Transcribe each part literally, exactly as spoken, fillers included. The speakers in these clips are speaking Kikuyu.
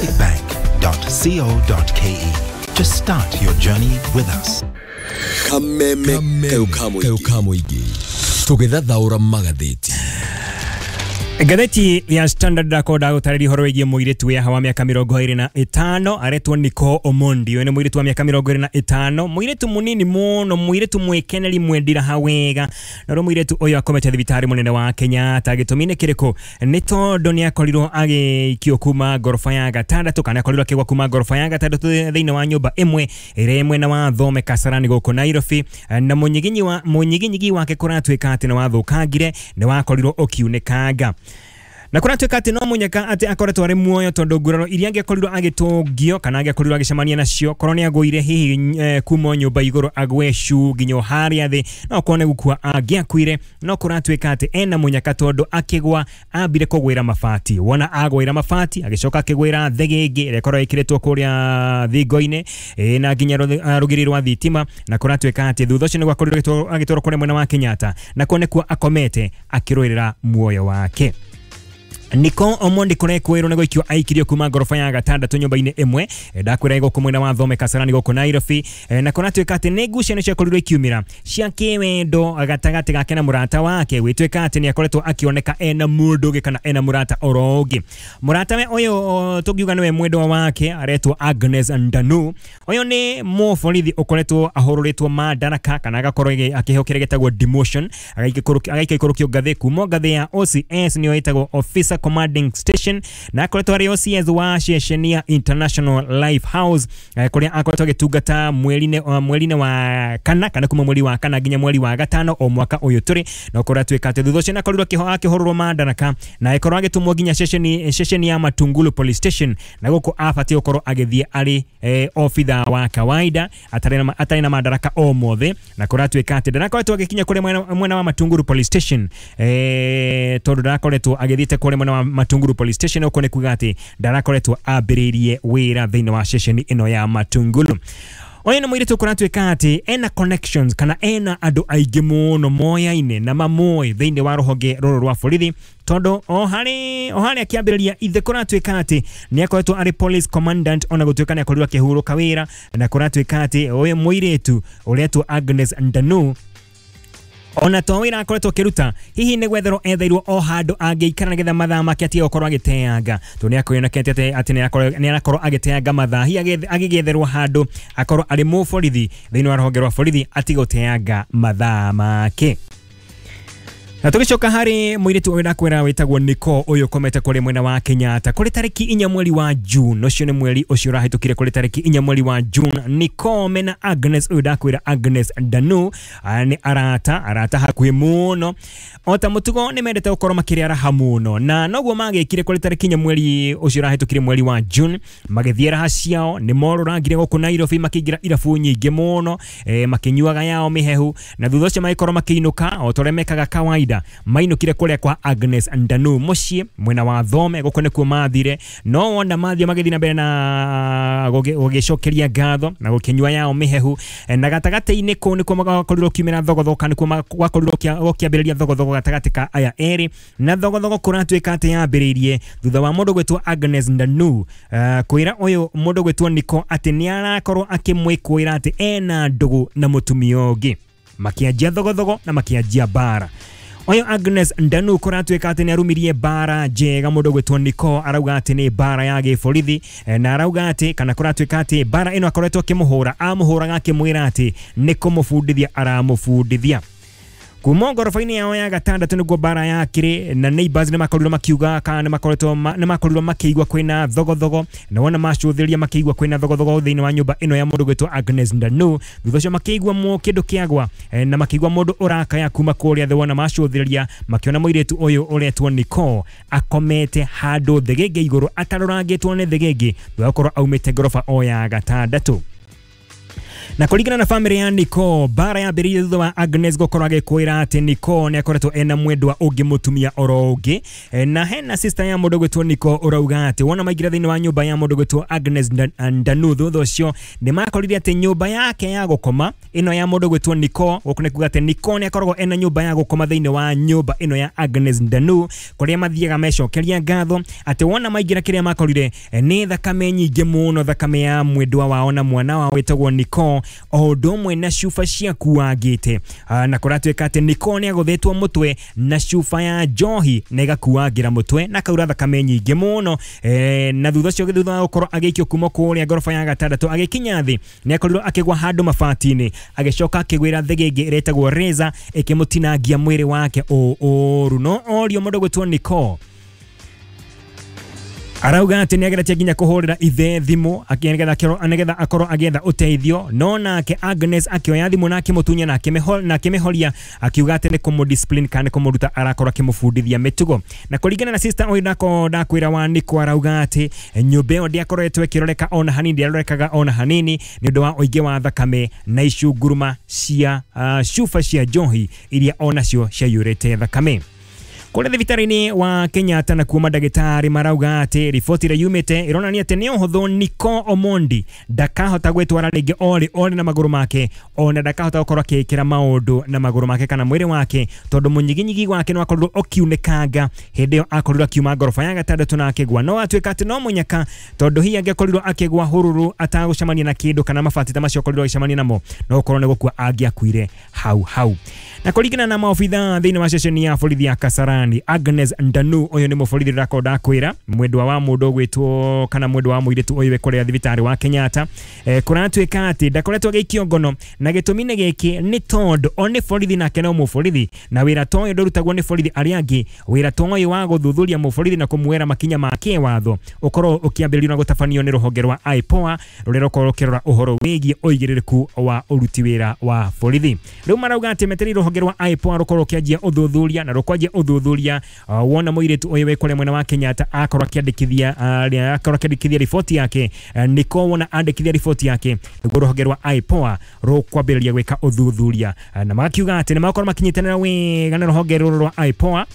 stanbicbank dot co dot k e to start your journey with us. Kameme kayo ka mũingĩ tũgĩthathaũra magathĩti. Ngathĩti ya Standard ndakorwo ndagũtarĩria ũhoro wĩgiĩ mũirĩtu wĩ wa mĩaka mĩrongo ĩrĩ na ĩtano, aretwo Nicole Omondi. Ũyũ nĩ mũirĩtu wa mĩaka mĩrongo ĩrĩ na ĩtano, mũirĩtu mũnini mũno, mũirĩtu mwĩkeneri, mwendiraha wega. Na rĩu mũirĩtu ũyũ akomete thibitarĩ mũnene wa Kenyatta. Gĩtũmi nĩ kĩrĩkũ? Nĩ tondũ nĩ akorirwo agĩikio kuma ngoroba ya gatandatũ, kana akorirwo akĩgwa kuma ngoroba ya gatandatũ thĩinĩ wa nyũmba ĩmwe ĩrĩa ĩ mwena wa Thome Kasarani gũkũ Nairobi, na mũnyiginyi wa mũnyiginyigi wake kũratuĩka atĩ nĩ wathũkangire, nĩ wakorirwo ũkiunĩkanga, na kũratuĩka atĩ no mũnyaka atĩ akoretwo arĩ muoyo, tondũ nguraro iria angĩakorirwo agĩtũngio kana angĩakorirwo agĩcemania nacio korwo nĩ agũire hihi eh, kuma nyũmba igũrũ agwe cu nginya harĩa thĩ, no korwo nĩ gũkua angĩakuire. No kũratuĩka atĩ ena mũnyaka, tondũ akĩgwa ambire kũgwĩra mabati. Wona agwĩra mabati, agĩcoka akĩgwĩra thĩgĩngĩ ĩrĩa ĩkorwo ĩkĩrĩtwo kũrĩa thingo-inĩ ĩ, na nginya rũthi- ah, rũgiri rwa thitima. Na kũratuĩka atĩ thutha ũcio nĩguo akorirwo agĩtwarwo agĩtwarwo kũrĩa mwena wa Kenyatta, na kuo nĩkuo akomete akĩrũĩrĩra muoyo wake. Nicole Omondi kũrekwĩrwo nĩ gũikio aikirio kuma ngoroba ya gatandatũ nyũmba-inĩ ĩmwe. Eh, ndakwĩra gũkũ mwena wa Thome Kasarani gũkũ Nairobi. Eh, na kũratuĩka atĩ nĩ ngucanio ciakorirwo ikiumĩra cia kĩwendo gatagatĩ gake na mũrata wake. Gwĩtuĩka atĩ nĩ akoretwo akĩoneka ena mũndũ ũngĩ kana ena mũrata oro ũngĩ. Mũratawe ũyũ o, tũngiuga nĩwe mwendwa wake, aretwo Agnes Ndanu. Ũyũ nĩ mũborithi ũkoretwo ahũrũrĩtwo madaraka kana agakorwo agĩ- akĩheo kĩrĩa gĩtagwo demotion, agaikũrũkio ngathĩ kuma ngathĩ ya O C S, nĩyo ĩtagwo Officer Commanding Station, na akoretwo arĩ O C S wa ceceni ya International Life House, eh, kũrĩa akoretwo agĩtungata mweri-inĩ uh, mweri-inĩ wa kana kana kuma mweri wa kana nginya mweri wa gatano o mwaka ũyũ tũrĩ. Na kũratuĩka atĩ thutha ũcio nĩ akorirwo akĩho- akĩhũrũrwo madaraka na agĩkorwo agĩtũmwo nginya ceceni ceceni ya Matungulu Police Station, na gũkũ abatiĩ gũkorwo agĩthiĩ arĩ eh, obitha wa kawaida atarĩ na, atarĩ na madaraka o mothe. Na kũratuĩka atĩ ndarakoretwo agĩkinya kũrĩa mwena, mwena wa Matungulu Police Station, eh, tondũ ndarakoretwo agĩthiĩte kũrĩa mwena wa Matungulu Police Station. Ũguo nĩ kuga atĩ ndarakoretwo ambĩrĩirie wĩra thĩinĩ wa ceceni ĩno ya Matungulu. Ũyũ nĩ mũirĩtu kũratuĩka atĩ ena connections kana ena andũ aingĩ mũno moyaine na mamoĩ thĩinĩ wa rũhonge rũrũ rwa borithi, tondũ o harĩ o harĩa akĩambĩrĩria ithe kũratuĩka atĩ nĩ akoretwo arĩ police commandant, ona gũtuĩka nĩ akorirwo akĩhurũka wĩra. Na kũratuĩka atĩ ũyũ mũirĩtu ũretwo Agnes Ndanu, ona to wĩra akoretwo akĩruta, hihi nĩ gwetherwo etheirwo o handũ angĩikara nĩgetha mathaa make atige gũkorwo agĩteanga, tondũ nĩ akwĩonekete atĩ atĩ nĩ arakorwo- nĩ arakorwo agĩteanga mathaa. Hihi agĩethe- agĩgĩetherwo handũ akorwo arĩ mũborithi thĩinĩ wa rũhonge rwa borithi, atige gũteanga mathaa make. Na tũgĩcoka harĩ mũirĩtu ũyũ ndakwĩra wĩtagwo Nicole, ũyũ ũkomete kũrĩ mwena wa Kenyatta kũrĩ tarĩki inya mweri wa June, ũcio nĩ mweri ũcio ũrahĩtũkire. Kũrĩ tarĩki inya mweri wa June, Nicole mena Agnes ũyũ ndakwĩra Agnes Ndanu, aya nĩ arata arata hakuhĩ mũno. O ta mũtugo nĩ mendete gũkorwo makĩrĩa raha mũno, na noguo magĩkire kũrĩ tarĩki inya mweri ũcio ũrahĩtũkire, mweri wa June. Magĩthiĩ raha ciao, nĩ morũrangire gũkũ Nairobi, makĩingĩra irabu nyingĩ mũno, eh, makĩnyuaga yao mĩhehu, na thutha ũcio magĩkorwo makĩinũka o ta ũrĩa mekaga kawaida. Mainũkire kũrĩa kwa Agnes Ndanu mũciĩ mwena wa Thome, gũkũ nĩkuo mathire. No wona mathiĩ magĩthiĩ na mbere na gũgĩ- gũgĩcokeria ngatho na gũkĩnyua yao mĩhehu, Eh, na gatagatĩ-inĩ kũu nĩkuo gwakorirwo kiumĩra thogothogo, kana nĩkuo ma- gwakorirwo gũkĩa- gũkĩambĩrĩria thogothogo gatagatĩ ka aya erĩ. Na thogothogo kũratuĩka atĩ yambĩrĩirie thutha wa mũndũ gwĩtwo Agnes Ndanu uh, kwĩra ũyũ mũndũ gwĩtwo Nicole atĩ nĩ arakorwo akĩmwĩkũĩra atĩ ena ndũgũ na mũtumia ũngĩ. Makĩanjia thogothogo na makĩanjia mbara. Ũyũ Agnes Ndanu kũratuĩka atĩ nĩ arumirie mbara njega mũndũ gwĩtwo Nicole, arauga atĩ nĩ mbara ya gĩborithi, eh, na arauga atĩ kana kũratuĩka atĩ mbara ĩno akoretwo akĩmũhũra, amũhũraga akĩmwĩra atĩ nĩ kũmũbundithia aramũbundithia. Kuma ngoroba-inĩ yao ya gatandatũ nĩguo mbara yakĩrĩ, na neighbors nĩ makorirwo makiuga kana nĩ makoretwo ma- nĩ makorirwo makĩigua kwĩna thogothogo, na wona macũthĩrĩria makĩigua kwĩna thogothogo thĩinĩ wa nyũmba ĩno ya mũndũ gwĩtwo Agnes Ndanu. Thutha ũcio makĩigua mũ kĩndũ kĩagwa, eh, na makĩigua mũndũ ũrakaya kuma kũrĩa thĩ. Wona macũthĩrĩria makĩona mũirĩtu ũyũ ũretwo Nicole akomete handũ thĩgĩngĩ igũrũ, atarũrangĩtwo nĩ thĩgĩngĩ, thutha wa gũkorwo aumĩte ngoroba o ya gatandatũ. Na kũringana na family ya Nicole, bara yambĩrĩirie thutha wa Agnes gũkorwo agĩkwĩra atĩ Nicole nĩ akoretwo ena mwendwa ũngĩ mũtumia oro ũngĩ. Na hena sister ya mũndũ gwĩtwo Nicole ũrauga atĩ wona maingĩra thĩinĩ wa nyũmba ya mũndũ gwĩtwo Agnes Ndanu, thutha ũcio nĩ makorire atĩ nyũmba yake ya gũkoma ĩno ya mũndũ gwĩtwo Nicole, gũkũ nĩ kuga atĩ Nicole nĩ akoragwo ena nyũmba ya gũkoma thĩinĩ wa nyũmba ĩno ya Agnes Ndanu, kũrĩa mathiaga mecokeria ngatho atĩ wona maingĩra kĩrĩa makorire nĩ thakame nyingĩ mũno, thakame ya mwendwa wao na mwana wao wĩtagwo Nicole, o ũndũ ũmwe na cuba ciakuangĩte. Na kũratuĩka atĩ Nicole nĩ agũthĩtwo mũtwe na cuba ya njohi na ĩgakuangĩra mũtwe na kaura thakame nyingĩ mũno. Na thutha ũcio thutha wa gũkorwo agĩikio kuma kũrĩa ngoroba ya gatandatũ agĩkinya thĩ nĩ akorirwo akĩgwa handũ mabati-inĩ, agĩcoka akĩgwĩra thĩgĩngĩ ĩretagwo razor ĩkĩmũtinangia mwĩrĩ wake ũru. No orio mũndũ gwĩtwo Nicole arauga atĩ nĩageretie nginya kũhũrĩra ithe thimũ nĩgetha akorwo agĩetha ũteithio, no nake Agnes akĩoya thimũ na akĩmũtunya na akĩmĩhoria akiuga atĩ nĩ kũmũdiscipline kana nĩ kũmũruta arakorwo akĩmũbundithia mĩtugo. Na kũringana na sister ũyũ ndako ndakwĩra wa Nicole arauga atĩ nyũmba ĩyo ndĩakoretwo ĩkĩroreka ona hanini, ndĩarorekaga ona hanini nĩ ũndũ wa ũingĩ wa thakame na icunguruma cia cuba cia njohi iria onacio ciaiyũrĩte thakame. Kũrĩa thibitarĩ-inĩ wa Kenyatta na kuo mandagĩtarĩ marauga atĩ riboti ĩrĩa yumĩte ĩronania atĩ nĩ ũhũthũ Nicole Omondi ndakahota gwĩtwara rĩngĩ orĩ orĩ na magũrũ make, ona ndakahota gũkorwo akĩĩkĩra maũndũ na magũrũ make kana mwĩrĩ wake, tondũ mũnyiginyigi wake nĩ wakorirwo ũkiunĩkanga hĩndĩ ĩyo akorirwo akiuma ngoroba ya gatandatũ na akĩgwa. No atuĩka atĩ no mũnyaka, tondũ hihi angĩakorirwo akĩgwa hũrũrũ atagũcemania na kĩndũ kana mabati ta macio akorirwo agĩcemania namo, no gũkorwo nĩ gũkua angĩakuire hau hau. Na kũringana na maobitha thĩinĩ wa ceceni ya borithi ya Kasarani, Agnes Ndanu ũyũ nĩ mũborithi ũrakorwo ndakwĩra mwendwa wa mũndũ ũgwĩtwo kana mwendwa wa mũirĩtu ũyũ wĩ kũrĩa thibitarĩ wa Kenyatta, eh, kũratuĩka atĩ ndakoretwo agĩikio ngono, na gĩtũmi nĩ gĩkĩ nĩ tondũ o nĩ borithi nake no mũborithi, na wĩra ta ũyũ ndũrutagwo nĩ borithi arĩa angĩ. Wĩra ta ũyũ wa gũthuthuria mũborithi na kũmuoera makinya ma kĩwatho ũkorwo ũkĩambĩrĩrio na gũtabanio nĩ rũhonge rwa I P O A rũrĩa rũkorwo rũkĩrora ũhoro wĩgiĩ ũigĩrĩrĩku wa ũruti wĩra wa borithi. Rĩu marauga atĩ metereire rũhonge rwa I P O A rũkorwo rũkĩanjia ũthuthuria na rũkwanjia ũthuthuria Uh, wona mũirĩtu ũyũ wĩ kũrĩa mwena wa Kenyatta akorwo akĩandĩkithia uh, akorwo akĩandĩkithia riboti yake. uh, Nicole wona andĩkithia riboti yake nĩguo rũhonge rwa I P O A rũkwambĩrĩria gwĩka ũthuthuria, uh, na makiuga atĩ nĩ makorwo makinyitanĩra wega na rũhonge rũrũ rwa I P O A.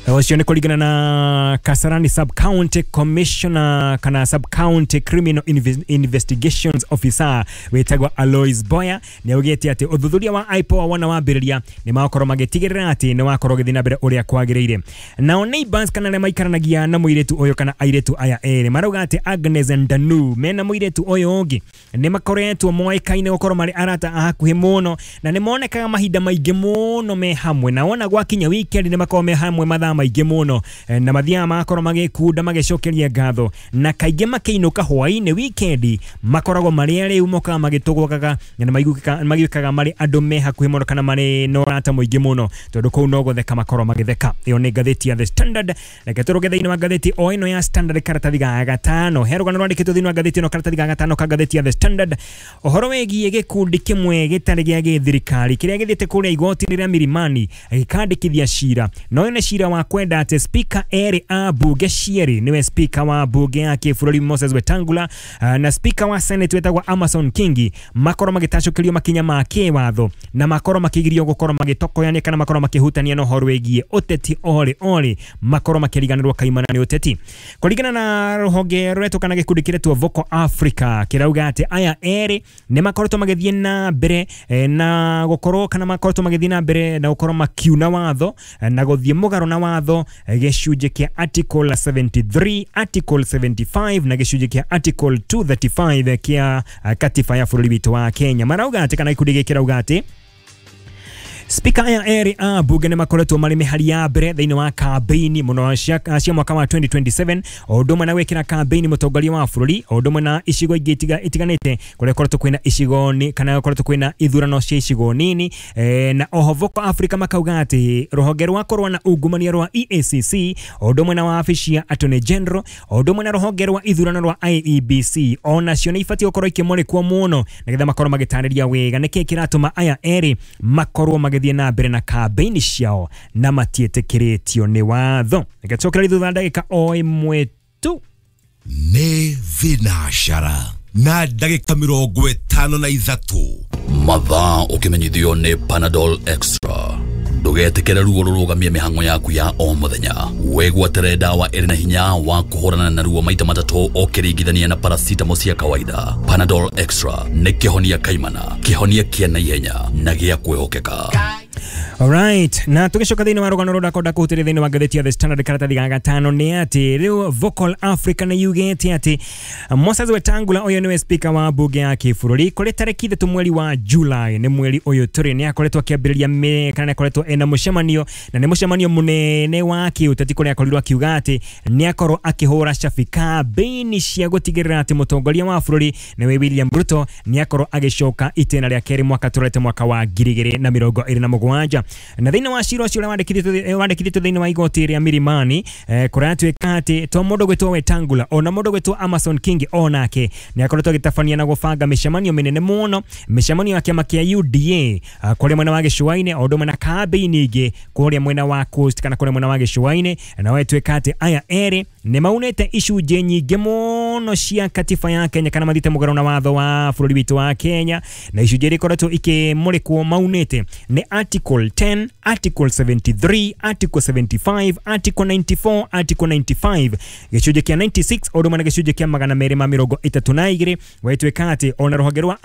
Ũcio nĩ kũringana na Kasarani Sub County Commissioner kana Sub County Criminal Investigations Officer wĩtagwo Alois Boya nĩ augĩte atĩ ũthuthuria wa I P O A wona wambĩrĩria nĩ makorwo magĩtigĩrĩra atĩ nĩ wakorwo ũgĩthiĩ na mbere ũrĩa kwagĩrĩire. Nao neighbors kana arĩa maikaranagia na mũirĩtu ũyũ kana airĩtu aya erĩ marauga atĩ Agnes Ndanu mena mũirĩtu ũyũ ũngĩ nĩ makoretwo moĩkaine gũkorwo marĩ arata a hakuhĩ mũno, na nĩ monekaga mahinda maingĩ mũno me hamwe, na wona gwakinya weekend nĩ makorwo me hamwe mathaa maingĩ mũno, na mathiaga magakorwo magĩkunda magĩcokeria ngatho, na kaingĩ makĩinũka hwaĩ-inĩ weekend makoragwo marĩ arĩu mokaga magĩtũgũkaga na nĩ marĩ andũ me hakuhĩ mũno kana marĩ na ũrata mũingĩ mũno, tondũ kũu no gũtheka makorwo magĩtheka. Ĩyo nĩ ngathĩti ya The Standard. Reke tũrũge thĩinĩ wa ngathĩti o ĩno ya Standard karatathi ga gatano. He rũgano rwandĩkĩtwo thĩinĩ wa ngathĩti ĩno karatathi ga gatano ka ngathĩti ya The Standard, ũhoro wĩgiĩ gĩkundi kĩmwe gĩtarĩ gĩa gĩthirikari kĩrĩa gĩthiĩte kũrĩa igoti-inĩ rĩa Milimani gĩkandĩkithia cira, na ũyũ nĩ cira wa kwenda atĩ speaker erĩ a bunge cierĩ, nĩwe speaker wa bunge ya kĩbũrũri Moses Wetangula na speaker wa Senate wetagwo Amason Kingi, makorwo magĩtacũkĩrio makinya ma kĩwatho na makorwo makĩgirio gũkorwo magĩtokoyania kana makorwo makĩhutania na ũhoro wĩgiĩ ũteti orĩ orĩ, makorwo makĩriganĩrwo kaimana nĩ ũteti. Kũringana na rũhonge rũretwo kana gĩkundi kĩretwo Vocal Africa kĩrauga atĩ aya erĩ nĩ makoretwo magĩthiĩ na mbere na gũkorwo kana makoretwo magĩthiĩ na mbere na gũkorwo makiuna watho na gũthiĩ mũgarũ na watho gĩcunjĩ kĩa article seventy-three, article seventy-five na gĩcunjĩ kĩa article two thirty-five kĩa katiba ya bũrũri witũ wa Kenya. Marauga atĩ kana gĩkundi gĩkĩ kĩrauga atĩ Speaker aya erĩ a bunge nĩ makoretwo marĩ mĩhari ya mbere thĩinĩ wa kambeini mũno cia cia mwaka wa twenty twenty-seven, o ũndũ ũmwe na gwĩkĩra kambeini mũtongoria wa bũrũri, o ũndũ ũmwe na icigo ingĩ itiganĩte kũrĩa koretwo kwĩna icigo ni kana koretwo kwĩna ithurano cia icigo nini. E, na oho Vocal Africa makauga atĩ rũhonge rwa kũrũa na ungumania rwa E A C C, o ũndũ ũmwe na wabici ya Attorney General, o ũndũ ũmwe na rũhonge rwa ithurano rwa I E B C, onacio nĩ ibatiĩ gũkorwo ikĩmũrĩkwo mũno nĩgetha makorwo magĩtarĩria wega nĩkĩĩ kĩratũma aya erĩ makorwo magĩthiĩ na mbere na kambeini ciao na matiĩtĩkĩrĩtio nĩ watho. Reke tũcokererie thutha ndagĩka o ĩmwe tu. Nĩ Thinashara Na ndagĩka mĩrongo ĩtano na ithatũ. Mathaa ũkĩmenyithio nĩ Panadol Extra. Ndũgetĩkĩre ruo rũrũgamie mĩhang'o yaku ya o mũthenya. Wĩgwatĩre dawa ĩrĩ na hinya wa kũhũrana na ruo maita matatũ ũkĩringithania na paracetamol cia kawaida. Panadol Extra nĩ kĩhonia kaimana, kĩhonia kĩa naihenya na gĩa kwĩhokeka. Alright, na tugicoka thiini wa rugano rura konda kuhutĩria thiini wa ngathĩti ya The Standard karatathi ga gatano nĩ atĩ rĩu Vocal Africa nĩ yugĩte atĩ Moses Wetangula ũyũ nĩwe speaker wa bunge ya kĩbũrũri kũrĩ tarĩki ithatũ mweri wa July nĩ mweri ũyũ tũrĩ nĩ akoretwo akĩambĩrĩria kana nĩ akoretwo ena mũcemanio na nĩ mũcemanio mũnene wa kĩũteti kũrĩa akorirwo akiuga atĩ nĩ akorwo akĩhũra cabi kambĩini cia gũtigĩrĩra atĩ mũtongoria wa bũrũri nĩwe William Ruto nĩ akorwo agĩcoka itĩna rĩa kerĩ mwaka tũrete mwaka wa ngiri igĩrĩ na mĩrongo ĩrĩ na mũgwanja. Na thĩinĩ wa cira ũcio ũrĩa wandĩkithĩtio thĩinĩ wa igoti rĩa Milimani eh, kũratuĩka atĩ to mũndũ gwĩtwo Wetangula ona mũndũ gwĩtwo Amason King onake nĩ akoretwo agĩtabania na gũbanga mĩcemanio mĩnene mũno, mĩcemanio ya kĩama kĩa U D A kũrĩa mwena wa gĩcũa-inĩ o ũndũ ũmwe na kambĩini ingĩ kũrĩa mwena wa Coast kana kũrĩa mwena wa gĩcũa-inĩ. Na wetwĩka atĩ aya erĩ nĩ maunĩte icunjĩ nyingĩ mũno cia katiba ya Kenya kana mathiĩte mũgarũ na watho wa bũrũri witũ wa Kenya, na icunjĩ iria ikoretwo ikĩmũrĩkwo maunĩte nĩ Article ten, Article seventy-three, Article seventy-five, Article ninety-four, Article ninety-five, gĩcunjĩ kĩa ninety-six o ũndũ ũmwe na gĩcunjĩ kĩa magana merĩ ma mĩrongo ĩtatũ na igĩrĩ. Wetwĩka atĩ ona rũhonge rwa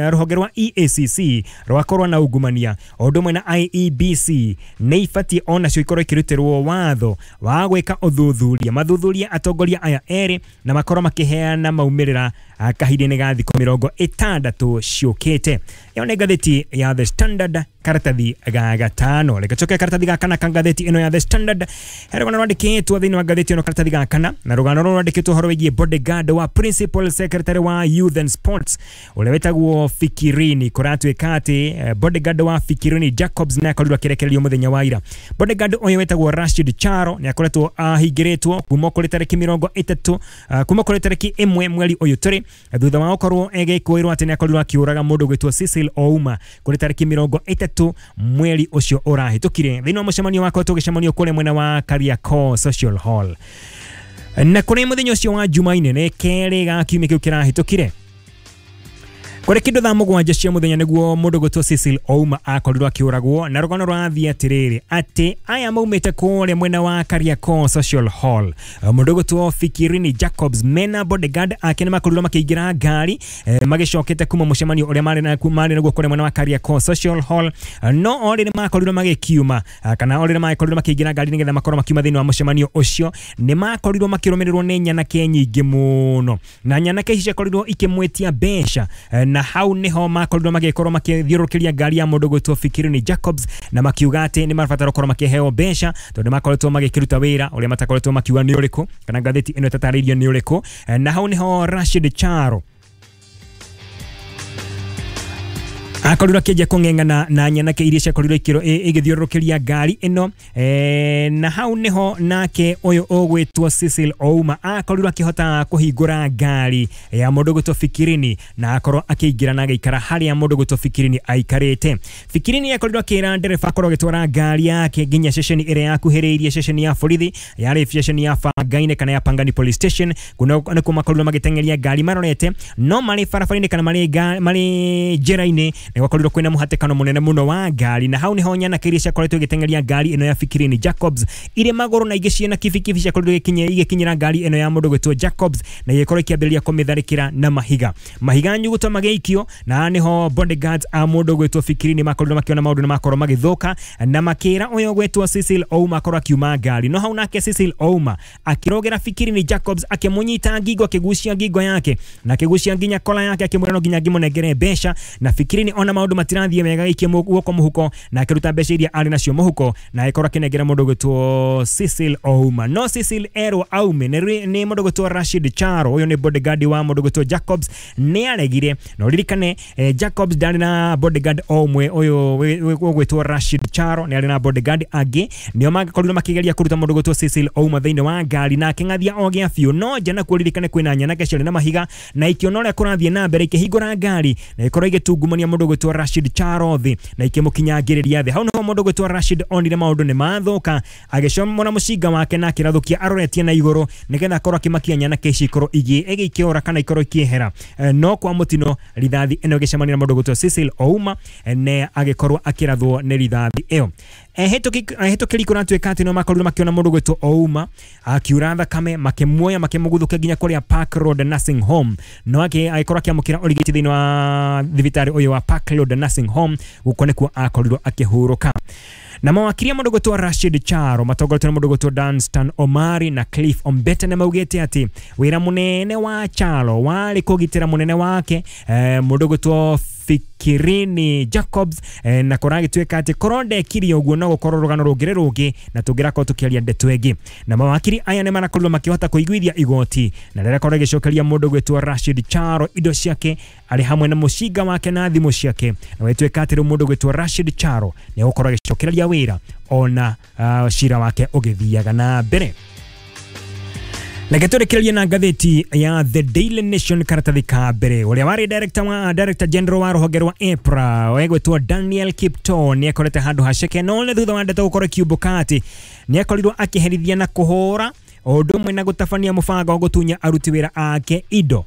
rũhonge rwa E A C C rwakorwo na ungumania o ũndũ ũmwe na I E B C nĩ ibatiĩ onacio ikorwo ikĩrutĩrwo watho wa gwĩka ũthuthuria, mathuthuria atongoria aya erĩ na makorwo makĩheana maumĩrĩra kahinda-inĩ ga thikũ mĩrongo ĩtandatũ ciũkĩte. Ĩyo nĩ ngathĩti ya The Standard karatathi ga gatano. Reke tũcoke karatathi ga kana ka ngathĩti ĩno ya The Standard. He rũgano rwandĩkĩtwo thĩinĩ wa ngathĩti ĩno karatathi ga kana, na rũgano rũrũ rwandĩkĩtwo ũhoro wĩgiĩ bodyguard wa Principal Secretary wa Youth and Sports ũrĩa wĩtagwo Fikirini. Kũratuĩka atĩ bodyguard wa Fikirini Jacobs nĩ akorirwo akĩrekererio mũthenya wa ira. Bodyguard ũyũ wĩtagwo Rashid Charo nĩ akoretwo ahingĩrĩtwo kuma kũrĩ tarĩki mĩrongo ĩtatũ kuma kũrĩ tarĩki ĩmwe mweri ũyũ tũrĩ thutha wa gũkorwo egĩkũĩrwo atĩ nĩ akorirwo akĩũraga mũndũ gwĩtwo Cecil Ouma kũrĩ tarĩki mĩrongo ĩtatũ mweri ũcio ũrahĩtũkire thĩinĩ wa mũcemanio wakoretwo ũgĩcemanio kũrĩa mwena wa Kariakoo Social Hall. Na kũrĩ mũthenya ũcio wa Jumaine nĩ kerĩ ga kiumia kĩu kĩrahĩtũkire kũrĩ kĩndũ thaa mũgwanja cia mũthenya nĩguo mũndũ gwĩtwo Cecil Ouma akorirwo akĩũragwo, na rũgano rũrathiĩ atĩrĩrĩ atĩ aya maumĩte kũrĩa mwena wa Kariakoo Social Hall, mũndũ gwĩtwo Fikirini Jacobs mena bodyguard ake nĩ makorirwo makĩingĩra ngari eh, magĩcokete kuma mũcemanio ũrĩa marĩ na marĩ naguo kũrĩa mwena wa Kariakoo Social Hall, no orĩ nĩ makorirwo magĩkiuma kana orĩ nĩ makorirwo makĩingĩra ngari nĩgetha makorwo makiuma thĩinĩ wa mũcemanio ũcio nĩ makorirwo makĩrũmĩrĩrwo nĩ nyanake nyingĩ mũno, na nyanake ici ciakorirwo ikĩmwĩtia mbeca, na hau niho makorirwo magĩkorwo makĩthiũrũrũkĩria ngari ya mũndũ gwĩtwo Fikirini Jacobs na makiuga atĩ nĩ marabatara gũkorwo makĩheo mbeca tondũ makoretwo magĩkĩruta wĩra ũrĩa matakoretwo makiuga nĩ ũrĩkũ kana ngathĩti ĩno ĩtatarĩirio nĩ ũrĩkũ. Na hau niho Rashid Charo akorirwo akĩanjia kũng'eng'ana na nyanake iria ciakorirwo igĩthiũrũrũkĩria ngari ĩno e, na hau niho nake ũyũ ũgwĩtwo Cecil Ouma akorirwo akĩhota kũhingũra ngari ya mũndũ gwĩtwo Fikirini na akorwo akĩingĩra na agĩikara harĩa mũndũ gwĩtwo Fikirini aikarĩte. Fikirini akorirwo akĩra ndereba akorwo agĩtwara ngari yake nginya ceceni ĩrĩa yakuhĩrĩirie ceceni ya borithi yarĩ ceceni ya Bangaine kana ya Pangani Police Station nĩkuo makorirwo magĩteng'eria ngari marorete, no marĩ barabara-inĩ kana marĩ marĩ njĩra-inĩ gwakorirwo kwĩna mũhatĩkano mũnene mũno wa ngari, na hau niho nyanake iria ciakoretwo igĩteng'eria ngari ĩno ya Fikirini Jacobs irĩ magũrũ na ingĩ ciĩna kibikibi ciakorirwo igĩkinyĩra ngari ĩno ya mũndũ gwĩtwo Jacobs na igĩkorwo ikĩambĩrĩria kũmĩtharĩkĩra na mahiga mahiga nyuguto magĩikio, na niho bodyguards a mũndũ gwĩtwo Fikirini makorirwo makĩona maũndũ na makorwo magĩthũka na makĩra ũyũ gwĩtwo Cecil Ouma akorwo akiuma ngari, no hau nake Cecil Ouma akĩrogera Fikirini Jacobs akĩmũnyita ngingo akĩgucia ngingo yake na akĩgucia nginya kola yake akĩmwĩra no nginya ngĩmũnengere mbeca, na Fikirini ona maũndũ matirathiĩ wega gaikie guoko mũhuko na akĩruta mbeca iria arĩ nacio mũhuko na agĩkorwo akĩnengera mũndũ gwĩtwo Cecil Ouma. No Cecil erwo aume nĩ mũndũ gwĩtwo Rashid Charo, ũyũ nĩ bodyguard wa mũndũ gwĩtwo Jacobs, nĩ aregire. Na ũririkane eh, Jacobs ndarĩ na bodyguard o ũmwe, ũyũ ũgwĩtwo Rashid Charo nĩ arĩ na bodyguard angĩ nĩo makorirwo makĩgeria kũruta mũndũ gwĩtwo Cecil Ouma thĩinĩ wa ngari na akĩng'athia o gĩa biũ, no njana kuo ririkane kwĩna nyanake ciarĩ na mahiga na ikĩona ũrĩa kũrathiĩ na mbere ikĩhingũra ngari na ĩkorwo igĩtungumania mũndũ gwĩtwo gwĩtwo Rashid Charo thĩ na ikĩmũkinyangĩrĩria thĩ. Hau niho mũndũ gwĩtwo Rashid onire maũndũ nĩ mathũka, agĩcomora mũcinga wake na akĩrathũkia aroretie na igũrũ nĩgetha akorwo akĩmakia nyanake ici ikorwo igĩkĩũra kana ikorwo ikĩehera. No kwa mũtino rithathi ĩno ĩgĩcemania na mũndũ gwĩtwo Cecil Ouma ne agĩkorwo akĩrathwo nĩ rithathi ĩyo. Ehĩtũkĩri kũratuĩka atĩ no makorirwo makĩona mũndũ gwĩtwo Ouma akiura thakame, makĩmuoya makĩmũguthũkia nginya kũrĩa Park Road Nursing Home, no agĩkorwo akĩamũkĩra ũrigiti thĩinĩ wa thibitarĩ ũyũ wa Park Road Nursing Home, gũkũ nĩkuo akorirwo akĩhurũka. Na mawakiri a mũndũ gwĩtwo Rashid Charo matongoretio nĩ mũndũ gwĩtwo Danstan Omari na Cliff Ombete nĩ maugĩte atĩ wĩra mũnene wa Charo warĩ kũgitĩra mũnene wake mũndũ gwĩtwo Fikirini Jacobs, eh, na kũragĩtuĩka atĩ korwo ndekire ũguo no gũkorwo rũgano rũngĩrĩ rũngĩ na tũngĩrakorwo tũkĩaria ndeto ĩngĩ. Na mawakiri aya nĩ marakorirwo makĩhota kũiguithia igoti na rĩrakorwo rĩgĩcokeria mũndũ gwĩtwo Rashid Charo indo ciake arĩ hamwe na mũcinga wake na thimũ ciake, na gwĩtuĩka atĩ rĩu mũndũ gwĩtwo Rashid Charo nĩ egũkorwo agĩcokereria wĩra ona uh, cira wake ũgĩthiaga na mbere. Reke tũrĩkĩrĩrie na ngathĩti ya The Daily Nation karatathi ka mbere. Ũrĩa warĩ director wa director general wa rũhonge rwa EPRA wegwĩtwo Daniel Kiptoo nĩ akorete handũ haceke, no nĩ thutha wa ndeto gũkorwo ikiumbũka atĩ nĩ akorirwo akĩherithia na kũhũra o ũndũ ũmwe na gũtabania mũbango wa gũtunya aruti wĩra ake indo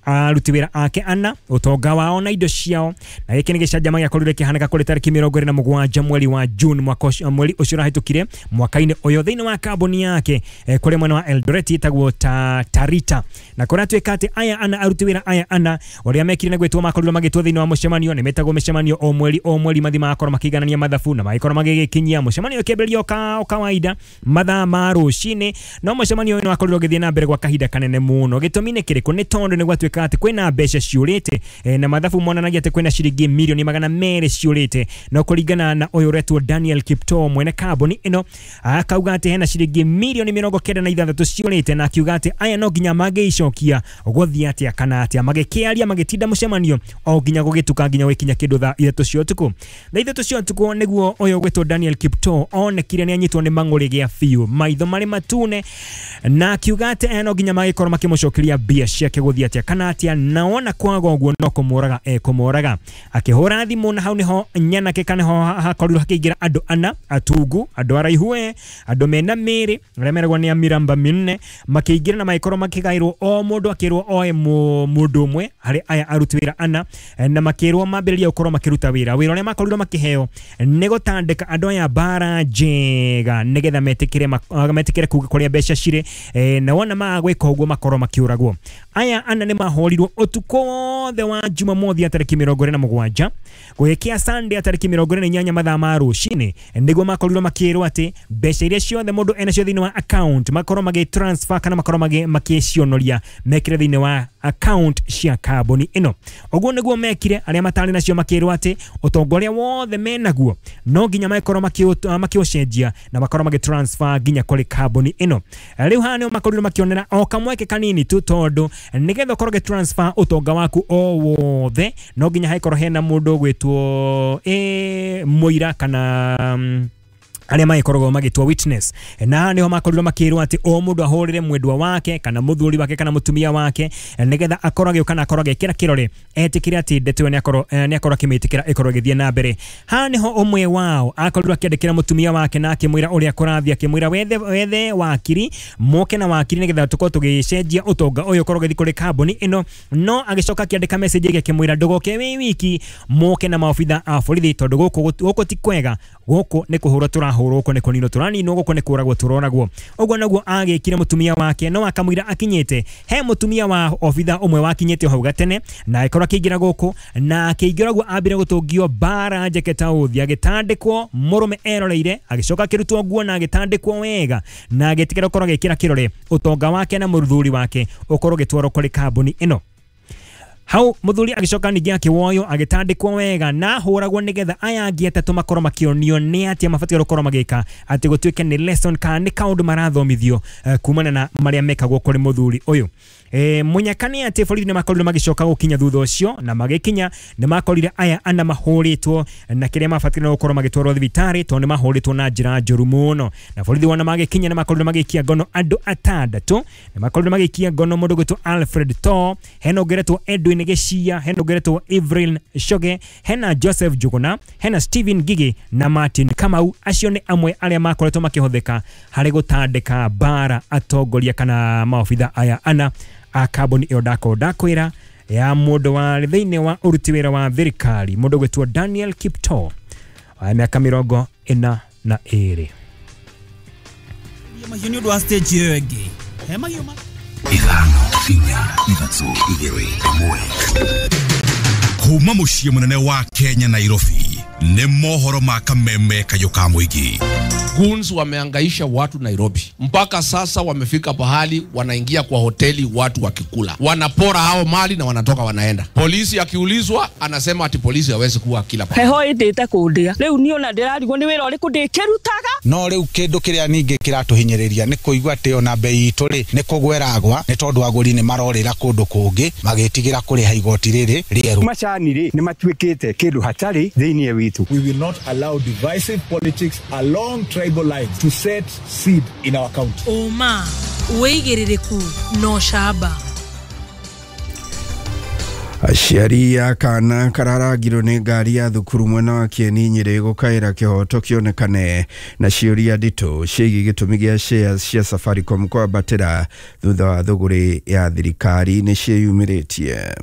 aruti wĩra ake ana ũtonga wao na indo ciao. Na gĩkĩ nĩ gĩcanjama gĩakorirwo kĩhanĩka kũrĩ tarĩki mĩrongo ĩrĩ na mũgwanja mweri wa June mwaka ũcio mweri ũcio ũrahĩtũkire mwaka-inĩ ũyũ thĩinĩ wa kambuni yake eh, kũrĩ mwena wa Eldoret ĩtagwo ta Tarita. Na kũratuĩka atĩ aya ana aruti wĩra aya ana ũrĩa mekire nĩ gwĩtwo makorirwo magĩtwo thĩinĩ wa mũcemanio. Nĩ metagwo mĩcemanio o mweri o mweri mathi magakorwo makĩiganania mathabu na magĩkorwo magĩgĩkinyia mũcemanio ũkĩambĩrĩria o kawaida mathaa ma rũcinĩ, no mũcemanio ũyũ nĩ wakorirwo ũgĩthiĩ na mbere gwa kahinda kanene mũno. Gĩtũmi nĩ kĩrĩkũ? Nĩ tondũ nĩ gwatuĩka atĩ kwĩna mbeca ciũrĩte na mathabu monanagia atĩ kwĩna ciringi milioni magana merĩ ciũrĩte, no kũringana na ũyũ ũretwo Daniel Kiptoo mwene kambuni ĩno akauga atĩ hena ciringi milioni mĩrongo kenda na ithathatũ ciũrĩte, na akiuga atĩ aya no nginya mangĩicokia gũthiĩ atĩa kana atĩa. Magĩkĩaria magĩtinda mũcemanio o nginya gũgĩtuka nginya gũgĩkinya kĩndũ thaa ithatũ cia ũtukũ. Thaa ithatũ cia ũtukũ nĩguo ũyũ ũgwĩtwo Daniel Kiptoo onekire nĩ anyitwo nĩ mang'ũrĩ gĩa biũ, maitho marĩ matune, na akiuga atĩ aya no nginya magĩkorwo makĩmũcokeria mbia ciake gũthiĩ atĩa kana atĩa, na wona kwaga ũguo no kũmũraga ekũmũraga. Akĩhũra thimũ na hau nĩho nyanake kana ho hakorirwo hakĩingĩra andũ ana atungu, andũ araihu we, andũ mena mĩĩrĩ arĩa meragwo nĩ a mĩramba mĩnene, makĩingĩra na magĩkorwo makĩgaĩrwo o mũndũ akĩrwo oe mũndũ ũmwe harĩ aya aruti wĩra ana, na makĩrwo mambĩrĩria gũkorwo makĩruta wĩra. Wĩra ũrĩa makorirwo makĩheo nĩ gũtandĩka andũ aya mbara njega nĩgetha metĩkĩre metĩkĩre kuga kũrĩa mbeca cirĩ, na wona maga gwĩka ũguo makorwo makĩũragwo. Aya ana nĩ mahorirwo ũtukũ wothe wa Jumamothi ya tarĩki mĩrongo ĩrĩ na mũgwanja gũgĩkĩa Sunday ya tarĩki mĩrongo ĩrĩ na inyanya mathaa ma rũcinĩ, nĩguo makorirwo makĩrwo atĩ mbeca iria ciothe mũndũ enacio thĩinĩ wa account makorwo magĩ transfer kana makorwo makĩcionoria mekĩre thĩinĩ wa account cia kambuni ĩno. Ũguo nĩguo mekire. Arĩa matarĩ nacio makĩrwo atĩ ũtonga ũrĩa wothe menaguo no nginya makorwo makĩũcenjia na makorwo magĩ transfer nginya kũrĩ kambuni ĩno. Rĩu haha nĩo makorirwo makĩonera o kamweke kanini tu, tondũ nĩgetha ũkorwo ũgĩ transfer ũtonga waku o wothe no nginya hakorwo hena mũndũ ũgwĩtwo eh mũira kana mm, arĩa magĩkoragwo magĩtwo witness. Na nĩho makorirwo makĩrwo atĩ o mũndũ ahũrĩre mwendwa wake kana mũthuri wake kana mũtumia wake nĩgetha akorwo agĩũka na akorwo agĩkĩra kĩrore etĩkĩre atĩ ndeto ĩyo nĩakorwo nĩakorwo akĩmĩtĩkĩra ĩkorwo ĩgĩthiĩ na mbere. Haha nĩho ũmwe wao akorirwo akĩandĩkĩra mũtumia wake na akĩmwĩra ũrĩa kũrathiĩ, akĩmwĩra wethe wethe wakiri moke na wakiri nĩgetha tũkorwo tũgĩcenjia ũtonga ũyũ ũkorwo ũgĩthiĩ kũrĩ kambuni ĩno. No agĩcoka akĩandĩka message ĩngĩ akĩmwĩra ndũgoke wĩ wiki, moke na maobitha a borithi tondũ gũkũ gũkũ ti kwega, gũkũ nĩ kũhũrwo tũrahũrwo, gũkũ nĩ kũninwo tũraninwo, gũkũ nĩ kũragwo tũroragwo. Ũguo noguo agĩkire mũtumia wake, no akamwĩra akinyĩte he mũtumia wa obitha ũmwe wakinyĩte hau gatene na agĩkorwo akĩingĩra gũkũ, na akĩingĩra ũguo ambire gũtũngio mbara njeke ta ũthi, agĩtandĩkwo mũrũme eroreire, agĩcoka akĩrutwo nguo na agĩtandĩkwo wega na agĩtĩkĩra gũkorwo agĩkĩra kĩrore ũtonga wake na mũthuri wake ũkorwo ũgĩtwarwo kũrĩ kambuni ĩno. Hau muthuri agĩcoka ningĩ akĩwoywo agĩtandĩkwo wega na hũragwo nĩgetha aya angĩ atatũ makorwo makĩonio nĩ atĩa mabatiĩ gũkorwo magĩka atĩ gũtuĩke nĩ lesson kana nĩ kaũndũ marathomithio uh, kumana na marĩa mekagwo kũrĩ mũthuri ũyũ. E, mũnyaka nĩ atĩ borithi nĩ makorirwo magĩcoka gũkinya thutha ũcio, na magĩkinya nĩ makorire aya ana mahũrĩtwo na kĩrĩa mabatiĩ gũkorwo magĩtwarwo thibitarĩ tondũ nĩ mahũrĩtwo na njĩra njũru mũno. Na borithi wona magĩkinya nĩ makorirwo magĩikia ngono andũ atandatũ, nĩ makorirwo magĩikia ngono mũndũ gwĩtwo Alfred Too, hena ũngĩ ũretwo Edwin Martin Geshia, hena ũngĩ Evelyn Shoge, hena Joseph Juguna, hena Steven Gigi na Martin Kamau. Acio nĩ amwe arĩa makoretwo makĩhũthĩka harĩ gũtandĩka bara atongoria kana maobitha aya ana a kambuni ĩyo ndako ndakwĩra ya mũndũ wa thĩinĩ wa ũruti wĩra wa thirikari mũndũ gwĩtwo Daniel Kipto wa mĩaka mĩrongo ĩna na ĩrĩ. Mahiũ nĩ ũndũ wa stage ĩyo ĩngĩ. He mahiũ ma ithano inya ithatũ igĩrĩ ĩmwe. Kuma mũciĩ mũnene wa Kenya Nairobi nĩ mohoro ma kameme kayũ ka mũingĩ. Goons wameangaisha watu Nairobi. Mpaka sasa wamefika pahali wanaingia kwa hoteli watu wakikula. Wanapora hao mali na wanatoka wanaenda. Polisi akiulizwa anasema ati polisi hawezi kuwa kila pahali. Heho indite kundia. Riu ni ona ndirarigwo ni wira uriku ndikirutaga. No riu kindu kiria ningi kiratuhinyiriria ni kuigua ati ona bei itu ri ni kugweragwa ni tondu aguri ni marorira kundu kungi magitigira kuriha igoti riri rieru. Macani ri ni matuikite kindu hatari thiini witu. We will not allow divisive politics along tribal lines to set seed in our county. Oma wĩigĩrĩrĩku no shaba. Aciari a kana kararangirwo nĩ ngari ya thukuru mwena wa Kieni Nyĩrĩ gũkaĩra kĩhoto kĩonekane na ciũria nditũ ciĩgiĩ gĩtũmi gĩa shares cia Safaricom kwambatĩra thutha wa thũgũrĩ ya thirikari nĩ ciĩyumĩrĩtie.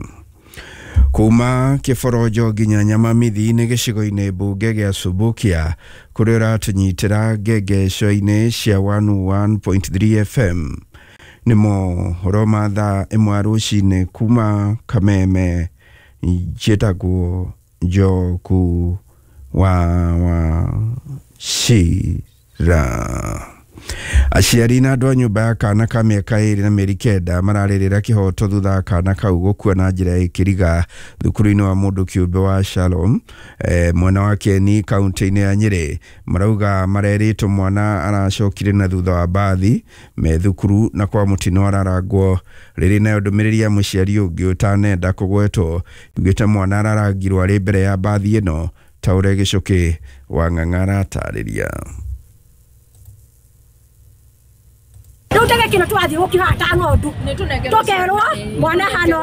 Kuma kĩborojo nginya Nyamamithi-inĩ gĩcigo-inĩ mbunge gĩa Subukia kũrĩa ũratũnyitĩra ngengeco-inĩ cia one oh one point three F M. Nĩ mohoro ma thaa ĩmwe rũcinĩ kuma Kameme. Njĩtagwo Njoku wa Wachira. Aciari na andũ a nyũmba ya kana ka mĩaka ĩrĩ na mĩeri kenda mararĩrĩra kĩhoto thutha wa kana kau gũkua na njĩra ya ĩkĩriga thukuru-inĩ wa mũndũ kĩũmbe wa Shalom eh, mwena wa Kieni kaunti-inĩ ya Nyĩrĩ. Marauga marerĩtwo mwana aracokire na thutha wa mbathi me thukuru na kwa mũtino ararangwo. Rĩrĩ nayo ndũmĩrĩri ya mũciari ũngĩ ũtanenda kũgwetwo yugĩte mwana ararangirwo arĩ mbere ya mbathi ĩno ta ũrĩa Gĩcũkĩ wa Ng'ang'a aratarĩria. Riu tege kino twathi gukihata ng'ondu tukerwo mwana hano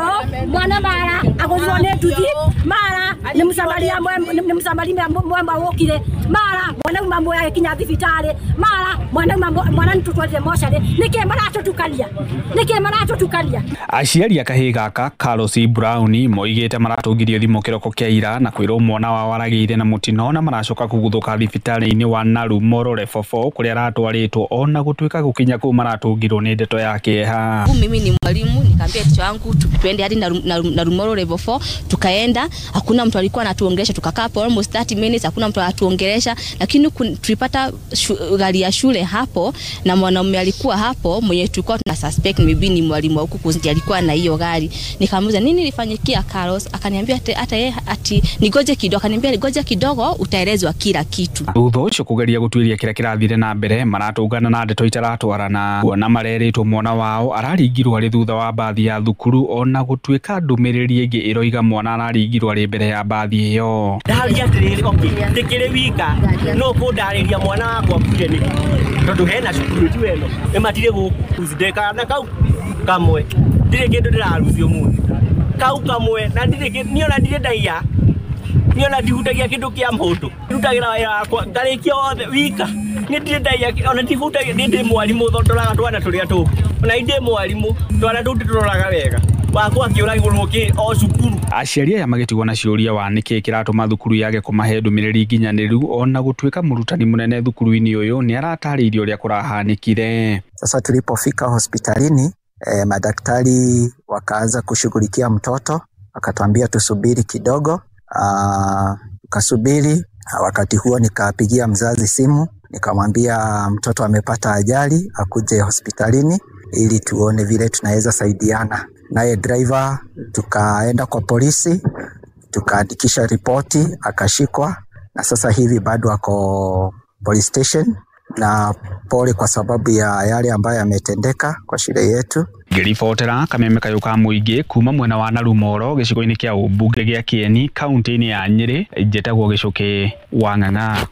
mwana mara aguthirwo ni nduthi mara ni msamaria ni msamaria mwema wokire mara mwana uma mwe agikinya thibitari mara mwana uma mwana nitutwarire mocarĩ. Niki maratutukania niki maratutukania. Aciari a kahĩĩ gaka Carlos Brown moigĩte maratũngirio thimũ kĩroko kĩa ira na kwĩrwo mwana wao aragĩire na mũtino na maracoka kũguthũka thibitarĩ-inĩ wa Naru Level four kũrĩa aratwarĩtwo ona gũtuĩka gũkinya kũu maratũngirwo nĩ ndeto ya kĩeha. Mimi ni mwalimu, nikaambia ticha wangu tuende hadi Narumoro level four, tukaenda, hakuna mtu alikuwa anatuongelesha, tukakaa for almost thirty minutes hakuna mtu anatuongelesha, lakini tulipata gari ya shule hapo na mwanaume alikuwa hapo mwenye tulikuwa tuna suspect maybe ni mwalimu huku kuzi alikuwa na hiyo gari. Nikamuuliza nini ilifanyikia Carlos, akaniambia hata yeye ati nigoje kidogo, akaniambia nigoje kidogo utaelezwa kila kitu. Thutha ũcio kũgeria gũtuĩria kĩrĩa kĩrathire na mbere maratũngana na ndeto itaratwarana kuona marerĩtwo mwana wao araringirwo arĩ thutha wa mbathi ya thukuru ona gũtuĩka ndũmĩrĩri ĩngĩ ĩroiga mwana araringirwo arĩ mbere ya mbathi ĩyo. Ndaria atĩrĩrĩ, okay, ndĩkĩrĩ wika no kũndarĩria mwana wakwa akuire nĩkĩ tondũ hena cukuru ti weno ĩmatirĩ gũkũ ndekana kau kamwe ndirĩ kĩndũ ndĩrarucio mũthĩ kau kamwe na ndirĩ niĩ ona ndirĩ ndaiya niĩ ona ndihutagia kĩndũ kĩa mũndũ ndutagĩra wĩra wakwa ngarĩkia wothe wika niĩ ndirĩ ndaiya ona ndihutagia niĩ ndĩ mwarimũ thondoraga twana tũrĩa tũngĩ ona ndĩ mwarimũ twana tũu ndĩtũroraga wega wakwa akĩũragĩrwo kĩ o cukuru. Aciari aya magĩtigwo na ciũria wa nĩkĩ kĩratũma thukuru yage kũmahe ndũmĩrĩri nginyanĩru ona gũtuĩka mũrutani mũnene thukuru-inĩ ũyũ nĩ aratarĩirie ũrĩa kũrahanĩkire. Sasa tulipofika hospitalini eh, madaktari wakaanza kushughulikia mtoto, wakatuambia tusubiri kidogo. Ah, tukasubiri. Wakati huo nikapigia mzazi simu nikamwambia mtoto amepata ajali akuje hospitalini ili tuone vile tunaweza saidiana. Naye driver tukaenda kwa polisi tukaandikisha ripoti akashikwa, na sasa hivi bado ako police station, na pole kwa sababu ya yale ambayo yametendeka kwa shule yetu. Ngĩribotera kameme kayũ ka mũingĩ kuma mwena wa Narumoro gĩcigo-inĩ kĩa ũmbunge gĩa Kieni kaunti-inĩ ya Nyĩrĩ, njĩtagwo Gĩcũkĩ wa Ng'ang'a.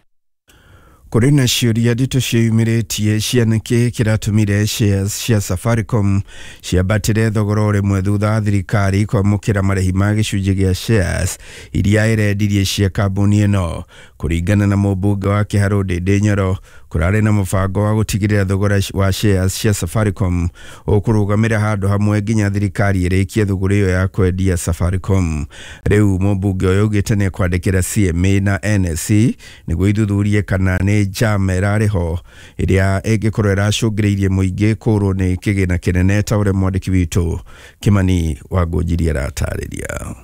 Kũrĩ na ciũria nditũ ciĩyumĩrĩtie cia nĩkĩ kĩratũmire shares cia Safaricom ciambatĩre thogora o rĩmwe thutha wa thirikari kwamũkĩra marĩhi ma gĩcunjĩ gĩa shares iria ĩrendirie cia kambuni ĩno. Kũringana na mũmbunge wa Kĩharũ Ndĩndĩ Nyoro, kũrarĩ na mũbango wa gũtigĩrĩra thogora wa shares cia Safaricom ũkũrũgamĩra handũ hamwe nginya thirikari ĩrĩkie thũgũrĩ ĩyo ya kwendia Safaricom. Rĩu mũmbunge ũyũ augĩte nĩ ekwandĩkĩra C M A na N S E nĩguo ithuthurie kana nĩ njama ĩrarĩ ho ĩrĩa ĩngĩkorwo ĩracũngĩrĩirie mũingĩ kũũrwo nĩ kĩgĩna kĩnene ta ũrĩa mwandĩki witũ Kimani Wangũnjiri aratarĩria.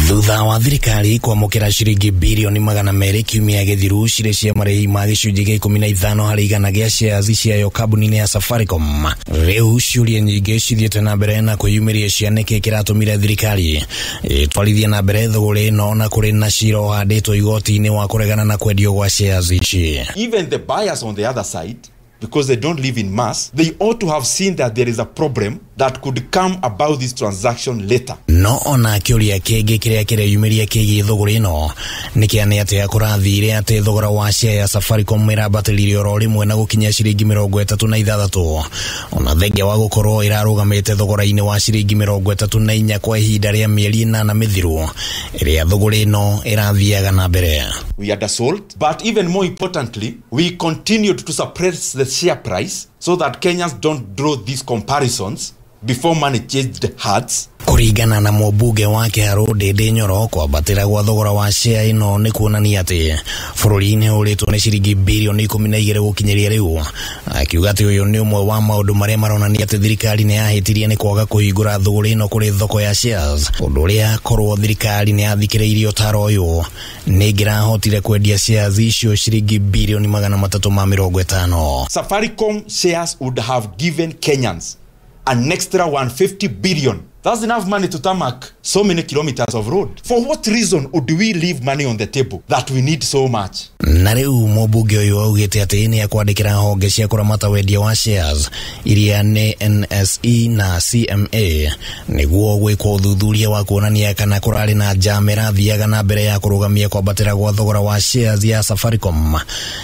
Thutha wa thirikari kwamũkĩra ciringi birioni magana merĩ kiumia gĩthiru cirĩ cia marĩhi ma gĩcunjĩ gĩa ikũmi na ithano harĩ igana gĩa shares ciayo kambuni-inĩ ya Safaricom, rĩu ciũria nyingĩ cithiĩte na mbere na kwĩyumĩria cia nĩkĩ kĩratũmire thirikari ĩtwarithie na mbere thũgũrĩ ĩno na kũrĩ na cira ũhandĩtwo igoti-inĩ wa kũregana na kwendio gwa shares ici. Even the buyers on the other side, because they don't live in mass, they ought to have seen that there is a problem that could come about this transaction later. No ona kĩũria kĩngĩ kĩrĩa kĩreyumĩria kĩgiĩ thũgũrĩ ĩno nĩ kĩa nĩ atĩa kũrathire atĩ thogora wa share ya Safaricom ĩrambatĩrire oro rĩmwe na gũkinya ciringi mĩrongo ĩtatũ na ithathatũ, ona thengia wa gũkorwo ĩrarũgamĩte thogora-inĩ wa ciringi mĩrongo ĩtatũ na inya kwa ihinda rĩa mĩeri ĩnana mĩthiru ĩrĩa thũgũrĩ ĩno ĩrathiaga na mbere. We undersold, but even more importantly, we continued to suppress the share price so that Kenyans don't draw these comparisons before money changed hearts. Kũringana na mũmbunge wa Kĩharũ Ndĩndĩ Nyoro, kwambatĩra gwa thogora wa share ĩno nĩ kuonania atĩ bũrũri nĩ ũrĩtwo nĩ ciringi birioni ikũmi na igĩrĩ gũkinyĩria rĩu, akiuga atĩ ũyũ nĩ ũmwe wa maũndũ marĩa maronania atĩ thirikari nĩ yahĩtirie nĩ kwaga kũhingũra thũgũrĩ ĩno kũrĩ thoko ya shares, ũndũ ũrĩa korwo thirikari nĩ yathikĩrĩirie ũtaro ũyũ nĩ ĩngĩrahotire kwendia shares icio ciringi birioni magana matatũ ma mĩrongo ĩtano. Safaricom shares would have given Kenyans an extra one hundred fifty billion. That's enough money to tarmac so many kilometers of road. For what reason would we leave money on the table that we need so much? Na rĩu mũmbunge ũyũ augĩte atĩ nĩ ekwandĩkĩra honge cia kũramata wendia wa shares iria nĩ N S E na C M A nĩguo gwĩkwo ũthuthuria wa kuonania kana kũrarĩ na njama ĩrathiaga na mbere ya kũrũgamia kwambatĩra gwa thogora wa shares ya Safaricom,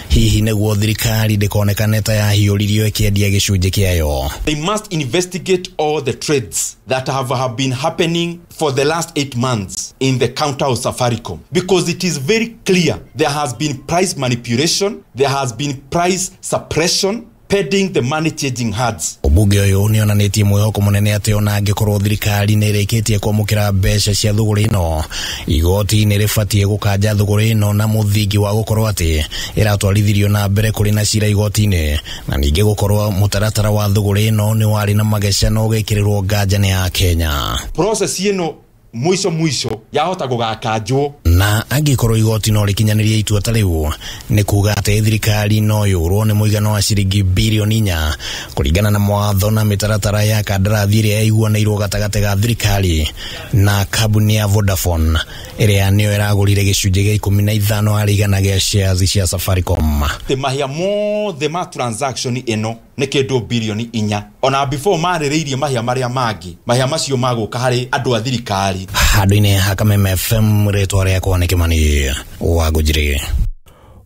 hihi nĩguo thirikari ndĩkonekane ta yahiũririo ĩkĩendia gĩcunjĩ kĩayo. They must investigate all the trades that have, have been happening for the last eight months in the counter of Safaricom, because it is very clear there has been price manipulation, there has been price suppression, pending the money changing hands. Mũmbunge ũyũ nĩ onanĩtie mwĩhoko mũnene atĩ ona angĩkorwo thirikari nĩ ĩrĩkĩtie kwamũkĩra mbeca cia thũgũrĩ ĩno, igoti nĩ rĩbatiĩ gũkanja thũgũrĩ ĩno na mũthingi wa gũkorwo atĩ ĩratwarithirio na mbere kũrĩ na cira igoti-inĩ, na ningĩ gũkorwo mũtaratara wa thũgũrĩ ĩno nĩ warĩ na mageca na ũgekĩrĩrwo nganja nĩ Akenya. Process ĩno mwisho mwisho yahota gũgakanjwo. Na angĩkorwo igoti no rĩkinyanĩrie itua ta rĩu, nĩ kuga atĩ thirikari no yũrwo nĩ mũigana wa ciringi birioni inya kũringana na mawatho na mĩtaratara ya kandarathi ĩrĩa yaiguanĩirwo gatagatĩ ga thirikari na kambuni ya Vodafone ĩrĩa nĩyo ĩragũrire gĩcunjĩ gĩa ikũmi na ithano harĩ igana gĩa shares cia Safaricom. Te mahia mothe ma transaction ĩno nĩ kĩndũ birioni inya, ona before marĩrĩirie mahia marĩa mangĩ, mahia macio magũka harĩ andũ a thirikari. Handũ-inĩ ha Kameme F M, rĩtwa rĩakwa nĩ Kimani Wangũnjiri.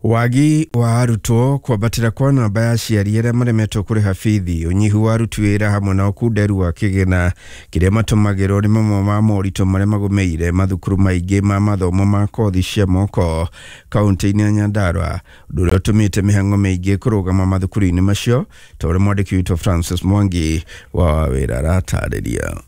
Wagi wa arutwo, kwambatĩra kwa namba ya aciari arĩa maremetwo kũrĩha bithi, ũnyihu wa aruti wĩra hamwe na ũkunderu wa kĩgĩna kĩrĩa matũmagĩrwo nĩ mamwe ma moritũ marĩa magũmĩire mathukuru maingĩ ma mathomo ma kothi cia moko kaunti-inĩ ya Nyandarua, ũndũ ũrĩa ũtũmĩte mĩhang'o mĩingĩ kũrũgama mathukuru-inĩ macio, ta ũrĩa mwandĩki witũ Francis Mwangi wa wĩra aratarĩria.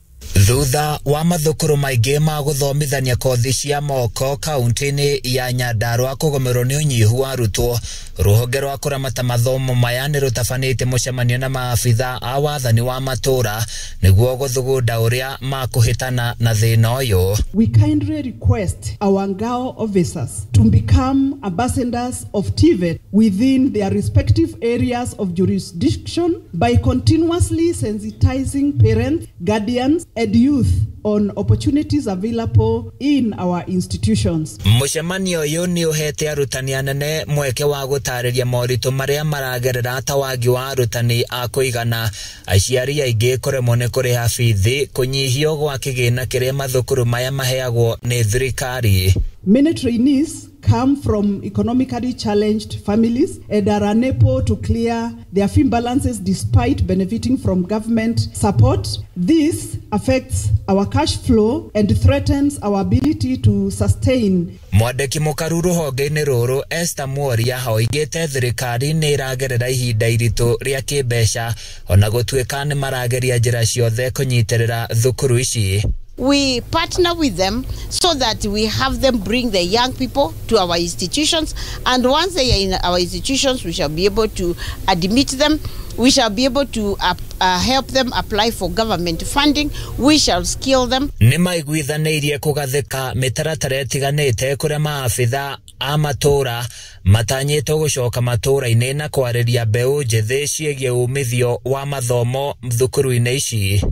Thutha wa mathukuru maingĩ ma gũthomithania kothi cia moko kaunti-inĩ ya Nyandarua kũgũmĩrwo nĩ ũnyihu wa arutwo, rũhonge rwa kũramata mathomo maya nĩ rũtabanĩtie mũcemanio na maabitha a wathani wa matũra nĩguo gũthugunda ũrĩa makũhĩtana na thĩna ũyũ. We kindly request our Ngao officers to become ambassadors of T V E T within their respective areas of jurisdiction by continuously sensitizing parents, guardians and youth on opportunities available in our institutions. Mũcemanio ũyũ nĩ ũhete arutani anene mweke wa gũtarĩria moritũ marĩa maragerera ta wagi wa arutani a kũigana, aciari aingĩ kũremwo nĩ kũrĩha bithi, kũnyihio gwa kĩgĩna kĩrĩa mathukuru maya maheagwo nĩ thirikari. Many trainees come from economically challenged families and are unable to clear their fee balances despite benefiting from government support. This affects our cash flow and threatens our ability to sustain. Mwandĩki mũkaru rũhonge-inĩ rũrũ Esther Mworia oigĩte thirikari nĩ ĩragerera ihinda iritũ rĩa kĩmbeca ona gũtuĩka nĩ marageria njĩra ciothe kũnyitĩrĩra thukuru ici. We partner with them so that we have them bring the young people to our institutions, and once they are in our institutions, we shall be able to admit them, we shall be able to uh, uh, help them apply for government funding, we shall skill them. Nĩ maiguithanĩirie kũgathĩka mĩtaratara ĩtiganĩte kũrĩa maabitha a matũra matanyĩtwo gũcoka matũra-inĩ na kwarĩria mbeũ njĩthĩ ciĩgiĩ umithio wa mathomo thukuru-inĩ ici.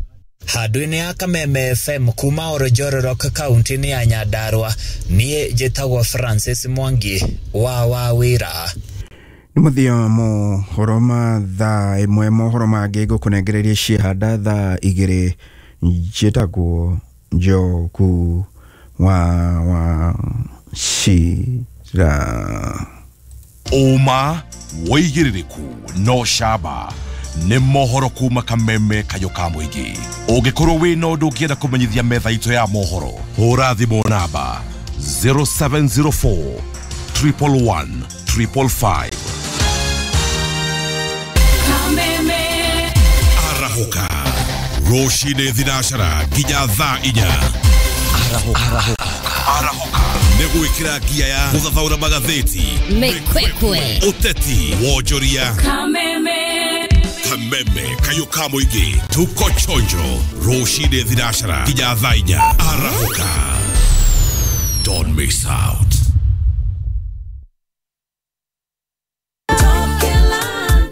Handũ-inĩ ya Kameme F M kuma Oljororok kaunti-inĩ ya Nyandarua, niĩ njĩtagwo Francis Mwangi wa wa wĩra. Nĩ mũthia mohoro ma thaa ĩmwe, mohoro mangĩ ngũkũnengereria ciehanda thaa igĩrĩ. Njĩtagwo Njoku wa wa Cira. Ũma wĩigĩrĩrĩku no camba nĩ mohoro kuma Kameme kayũ ka mũingĩ. Ũngĩkorwo wĩna ũndũ ũngĩenda kũmenyithia metha itũ ya mohoro, hũra thimũ namba zero seven zero four triple one triple five. Kameme arahũka rũcinĩ thinacara nginya thaa inya. Arahũka arahũka nĩ gwĩkĩra ngia ya gũthathaũra magathĩti, mĩkwekwe, ũteti, wonjoria. Kameme Kameme kayũ ka mũingĩ, tuko chonjo rũcinĩ thinacara nginya thaa inya. Arahũka, don't miss out.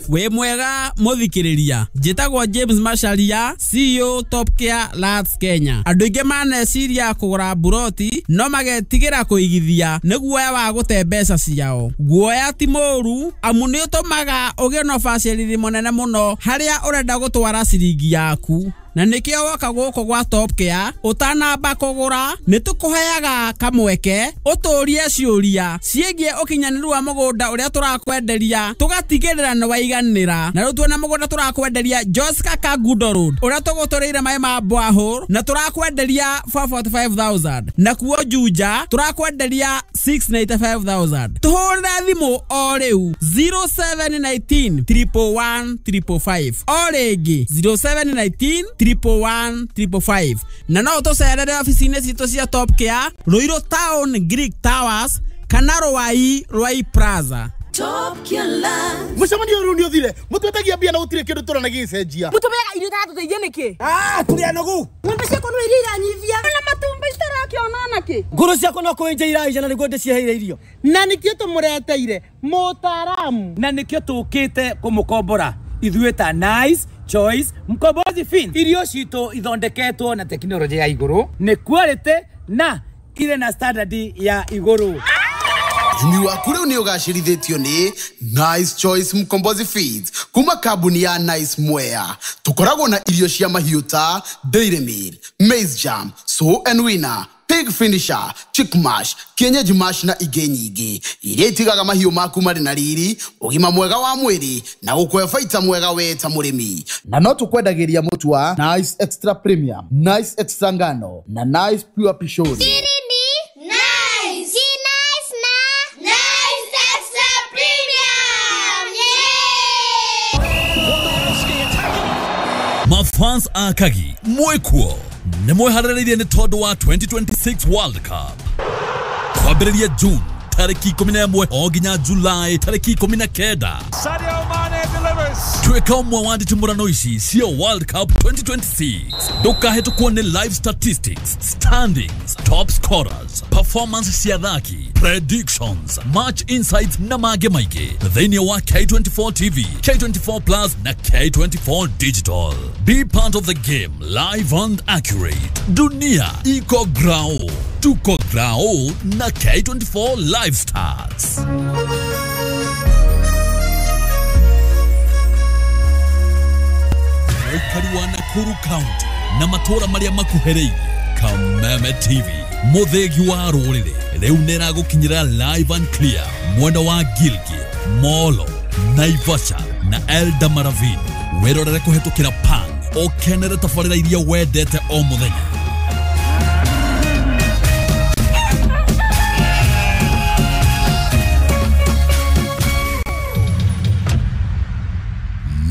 Wĩ mwega mũthikĩrĩria, njĩtagwo James Macharia, C E O Top Care Lands Kenya. Andũ aingĩ maneciria kũgũra mburoti no magetigĩra kũigithia nĩ guoya wa gũte mbeca ciao. Guoya ti mũũru amu nĩ ũtũmaga ũgĩe na ũbacĩrĩri mũnene mũno harĩa ũrenda gũtwara ciringi yaku. Na nĩkĩo woka gũkũ gwa Top Care ũtanamba kũgũra nĩ tũkũheaga kamweke ũtũrie ciũria ciĩgiĩ ũkinyanĩru wa mũgũnda ũrĩa tũrakwenderia, tũgatigĩrĩra nĩ waiganĩra. Na rĩu tuona mũgũnda tũrakwenderia Joska Kangundo Road ũrĩa tũgũtũrĩire maĩ ma borehole na tũrakwenderia four forty five thousand, na kuo Juja tũrakwenderia six ninety five thousand. Tũhũrĩre thimũ o rĩu zero seven nineteen triple one triple five, o rĩngĩ zero seven nineteen triple one triple five. Na no tũcerere ofici-inĩ citũ cia Top Care Ruiru Town Greek Towers kana Ruai Ruai Plaza. Top Care Lands. Mũcemanio ũyũ nĩ ũthire, mũtwetagia mbia na gũtirĩ kĩndũ tũrona gĩgĩcenjia. Mũtũmeaga irio itatũteithia nĩkĩ? Ah, tũrĩ anogu. Ng'ombe ciakwa no iria iranyivia. Na matumbĩ itarakĩona nakĩ? Ngũrũ ciakwa no kũenja iraija na nĩguo ndĩciheire irio. Na nĩkĩo tũmũreteire mũtaaramu. Na nĩkĩo tũkĩte kũmũkombora ithuĩ ta Nice Choice Mkombozi Fin. Irio citũ ithondeketwo na tekinoronjĩ ya igũrũ, nĩ quality na irĩ na standard ya igũrũ. Ũrĩmi waku rĩu nĩ ũgacĩrithĩtio nĩ Nice Choice Mkombozi Feeds kuma kambuni ya Nice Mwea. Tũkoragwo na irio cia mahiũ ta Dairy Meal, Maize Jam, Sow and Winner, Pig Finisher, Chick Mash, Kienyeji Mash na ingĩ nyingĩ iria itigaga mahiũ maku marĩ na riri, ũgima mwega wa mwĩrĩ na gũkũhe baita mwega we ta mũrĩmi. Na no tũkwendagĩria mũtu wa Nice Extra Premium, Nice Extra Ngano na Nice Pure Pishori. Siri ni Nice. Si Nice na Nice Extra Premium. Yeah! Mafans akagi mwekuo nĩ mweharĩrĩirie nĩ tondũ wa twenty twenty six World Cup kwambĩrĩria June tarĩki ikũmi na ĩmwe o nginya July tarĩki ikũmi na kenda. Sadio Mane delivers. Tuĩka ũmwe wa nditimũrano ici cia World Cup twenty twenty six. Ndũkahĩtũkwo nĩ live statistics, standings, top scorers, performance cia athaki, predictions, match insights na mangĩ maingĩ thĩinĩ wa K twenty four T V, K twenty four Plus na K twenty four Digital. Be part of the game live and accurate. Dunia iko grao, tuko grao na K twenty four Live Stars. Mũikari wa Nakuru County na matũra marĩa makuhĩrĩirie, Kameme T V. Muthegi wa rũrĩrĩ rĩu nĩ ĩragũkinyĩra live and clear mwena wa Gilgil, Molo, Naivasha na Eldamaravini. Wĩrorere kũhetũkĩra Pang ũkenere tabarĩra iria wendete o mũthenya.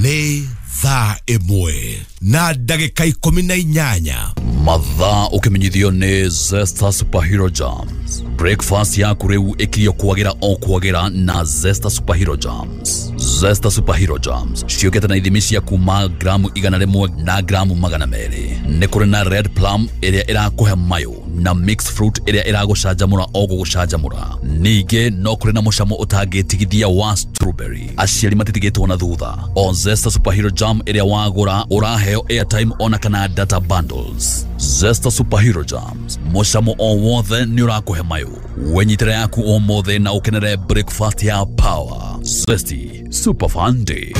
Nĩ thaa ĩmwe na ndagĩka ikũmi na inyanya. Mathaa ũkĩmenyithio nĩ Zesta Superhero Jams. Breakfast yaku rĩu ĩkirio kwagĩra o kwagĩra na Zesta Superhero Jams. Zesta Superhero Jams ciũkĩte na ithimi cia kuma gramu igana rĩmwe na gramu magana merĩ. Nĩ kũrĩ na red plum ĩrĩa ĩrakũhe mayũ na mixed fruit ĩrĩa ĩragũcanjamũra o gũgũcanjamũra. Ningĩ no kũrĩ na mũcamo ũtangĩtigithia wa strawberry. Aciari matitigĩtwo na thutha. O Zesta Superhero Jam ĩrĩa wagũra ũraheo airtime ona kana data bundles. Zesta Superhero Jams, mũcamo o wothe nĩ ũrakũhe mayũ. Wenyitĩre yaku ũmũthĩ na ũkenere breakfast ya power. Zesty Super Fun Day.